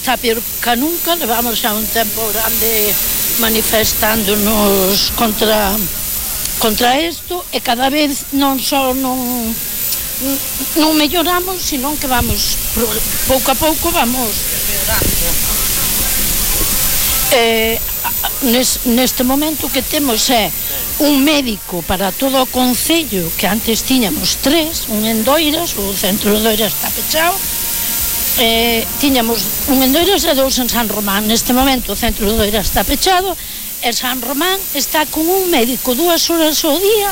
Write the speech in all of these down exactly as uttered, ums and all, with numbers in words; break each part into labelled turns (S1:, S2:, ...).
S1: Está peor que nunca, levamos xa un tempo grande manifestándonos contra contra isto e cada vez non só non non melloramos, sino que vamos pouco a pouco vamos empeorando. Eh, neste momento que temos é un médico para todo o concello, que antes tiñamos tres, un en Doiras, o centro de Doiras está pechado. Eh, tiñamos un en Doiras e dous en San Román. Neste momento o centro de Doiras está pechado e San Román está con un médico dúas horas ao día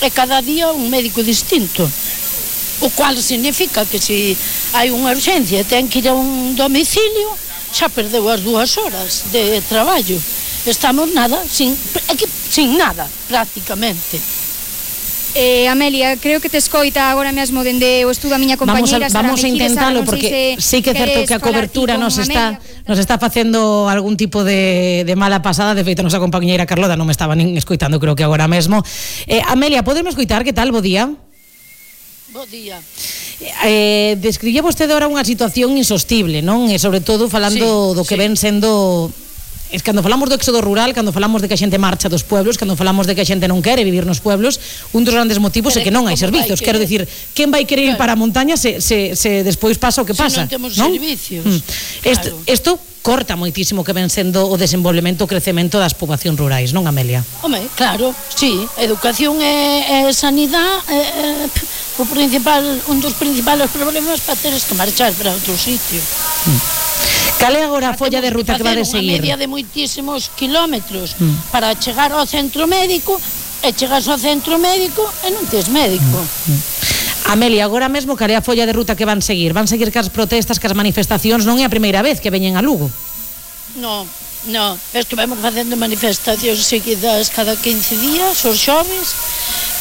S1: e cada día un médico distinto, o cual significa que se hai unha urgencia e ten que ir a un domicilio, xa perdeu as dúas horas de traballo. Estamos nada, sin, sin nada prácticamente.
S2: Eh, Amelia, creo que te escoita agora mesmo dende o estudo a miña compañeira.
S3: Vamos a, vamos a intentalo, porque sei que é certo que a cobertura nos está nos está facendo algún tipo de, de mala pasada. De feito, a nosa compañeira Carlota non me estaba nin escoitando, creo que agora mesmo. eh, Amelia, podemos escoitar? Que tal? Bo día.
S1: Bo día.
S3: Eh, describía vostede ahora unha situación insostible, non? E sobre todo falando sí, do que sí. ven sendo... Es cando falamos do éxodo rural, cando falamos de que a xente marcha dos pueblos, cando falamos de que a xente non quere vivir nos pueblos, un dos grandes motivos é que non hai servizos. Quero dicir, quen vai querer ir para a montaña se, se, se despois pasa o que pasa?
S1: Se non temos servicios.
S3: Mm. Isto, isto corta moitísimo que ven sendo o desenvolvemento, o crecemento das poboacións rurais, non, Amelia?
S1: Home, claro, sí, educación e, e sanidade e, e, o principal, un dos principales problemas para teres que marchar para outro sitio.
S3: Mm. Cal é agora a folla de ruta que va a seguir?
S1: Unha media de moitísimos kilómetros mm. para chegar ao centro médico, e chegas ao centro médico e non tes médico. Mm. Mm.
S3: Amelia, agora mesmo cal é a folla de ruta que van seguir? Van seguir cas protestas, cas manifestacións? Non é a primeira vez que veñen a Lugo?
S1: Non, non, es que vamos facendo manifestacións seguidas cada quince días, os xoves.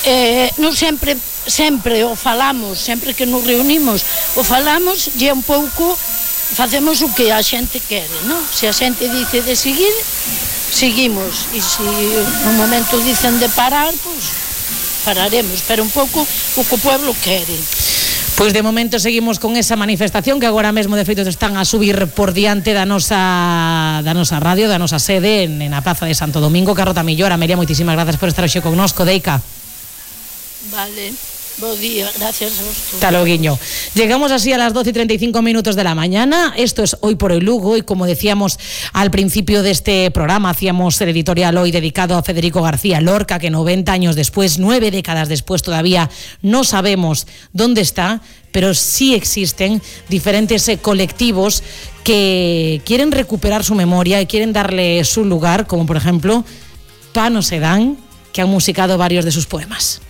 S1: Eh, non sempre, sempre o falamos, sempre que nos reunimos o falamos, e un pouco facemos o que a xente quere, non? Se a xente dice de seguir, seguimos, e se no momento dicen de parar, pois pararemos, pero un pouco o que o pueblo quere.
S3: Pois de momento seguimos con esa manifestación que agora mesmo de feito están a subir por diante da nosa da nosa radio, da nosa sede en, en a Praza de Santo Domingo. Carlota Millor, Amelia, moitísimas gracias por estar hoxe connosco, Deica.
S1: Vale. Bo día, gracias a vosotros.
S3: Hasta luego. Llegamos así a las doce y treinta y cinco minutos de la mañana. Esto es Hoy por el Lugo, y como decíamos al principio de este programa, hacíamos el editorial hoy dedicado a Federico García Lorca, que noventa años después, nueve décadas después, todavía no sabemos dónde está, pero sí existen diferentes eh, colectivos que quieren recuperar su memoria y quieren darle su lugar, como por ejemplo Pano Sedán, que han musicado varios de sus poemas.